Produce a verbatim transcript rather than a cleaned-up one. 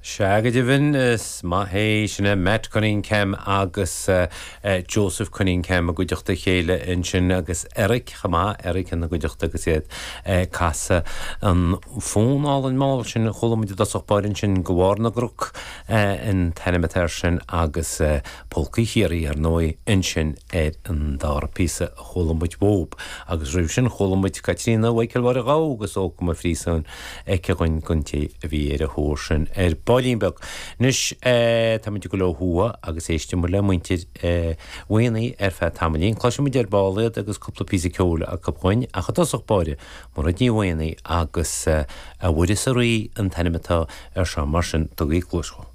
Sea go deimhin is maith é sin é Matt Cunningham agus uh, uh, Joseph Cunningham i gcuideachta chéile ansin agus Eric chomh maith Eric ina gcuideachta agus iad uh, casadh an fonn álainn mall sin chuala muid i dtosach báire ansin go bharr na gcnoc uh, an t-ainm atá air sin agus uh, Polcaí Chiarraí ar ndóigh ansin ar an dara píosa a chuala muid uathub agus roimh sin chuala muid Caitríona Mhichael Mháire Ghabha agus Ócam a Phríosúin aici againn don té a bhí ar a thóir sin ar baillín beag. Anois tá muid ag dul ó thuaidh agus éistfidh muid le muintir Mhaonaigh ar feadh tamaillín. Cloisfidh muid ar ball iad agus cúpla píosa ceoil acu dhúinn ach i dtosach báire Mairéad Ní Mhaonaigh agus a Mhuire 's a Rí an t-ainm atá air seo mar sin tugaigí cluas dhó.